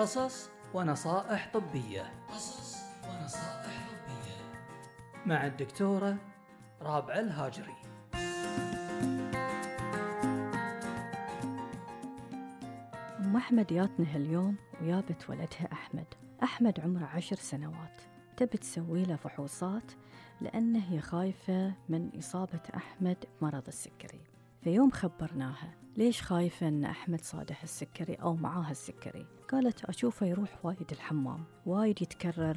قصص ونصائح طبية مع الدكتورة رابعة الهاجري. أم أحمد جاتنا هاليوم ويابت ولدها أحمد عمره 10 سنوات، تبي تسوي له فحوصات لأنه هي خايفة من إصابة أحمد بمرض السكري. في يوم خبرناها ليش خايفة أن أحمد صادح السكري أو معاه السكري. قالت أشوفه يروح وايد الحمام، وايد يتكرر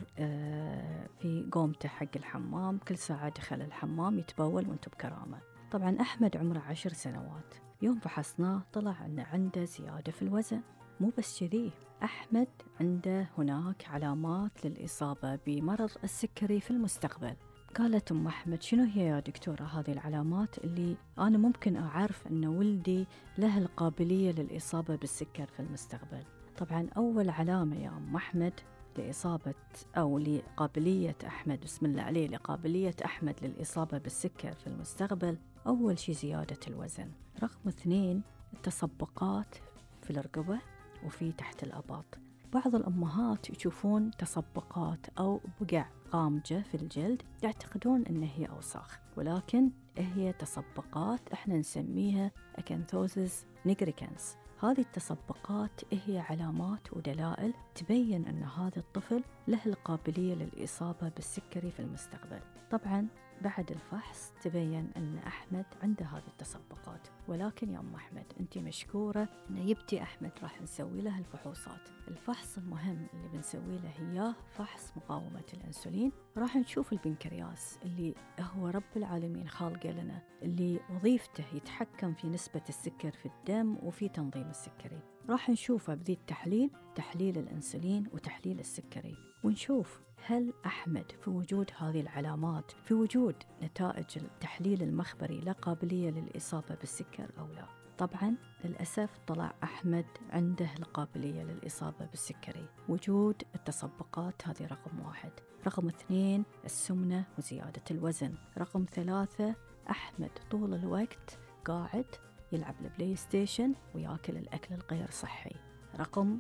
في قومته حق الحمام، كل ساعة دخل الحمام يتبول وانتو بكرامة. طبعا أحمد عمره 10 سنوات، يوم فحصناه طلع أنه عنده زيادة في الوزن. مو بس كذي، أحمد عنده هناك علامات للإصابة بمرض السكري في المستقبل. قالت أم أحمد شنو هي يا دكتورة هذه العلامات اللي أنا ممكن أعرف أن ولدي له القابلية للإصابة بالسكر في المستقبل؟ طبعا أول علامة يا أم أحمد لإصابة أو لقابلية أحمد، بسم الله عليه، لقابلية أحمد للإصابة بالسكر في المستقبل، أول شيء زيادة الوزن. رقم 2 التصبقات في الرقبة وفي تحت الأباط. بعض الأمهات يشوفون تصبقات أو بقع قامجة في الجلد يعتقدون أنها هي أوساخ، ولكن هي تصبقات احنا نسميها أكانثوزيس نيجريكانس. هذه التصبقات هي علامات ودلائل تبين أن هذا الطفل له القابلية للإصابة بالسكري في المستقبل. طبعا بعد الفحص تبين أن أحمد عنده هذه التصبقات، ولكن يا أم أحمد أنت مشكورة أن يبتي أحمد راح نسوي له الفحوصات. الفحص المهم اللي بنسوي له هي فحص مقاومة الأنسولين. راح نشوف البنكرياس اللي هو رب العالمين خالقه لنا، اللي وظيفته يتحكم في نسبة السكر في الدم وفي تنظيم السكري. راح نشوفه بذي التحليل، تحليل الأنسولين وتحليل السكري، ونشوف هل أحمد في وجود هذه العلامات، في وجود نتائج التحليل المخبري له قابلية للإصابة بالسكر أو لا. طبعا للأسف طلع أحمد عنده القابلية للإصابة بالسكري. وجود التصبقات هذه رقم 1. رقم 2 السمنة وزيادة الوزن. رقم 3 أحمد طول الوقت قاعد يلعب البلاي ستيشن ويأكل الأكل الغير صحي. رقم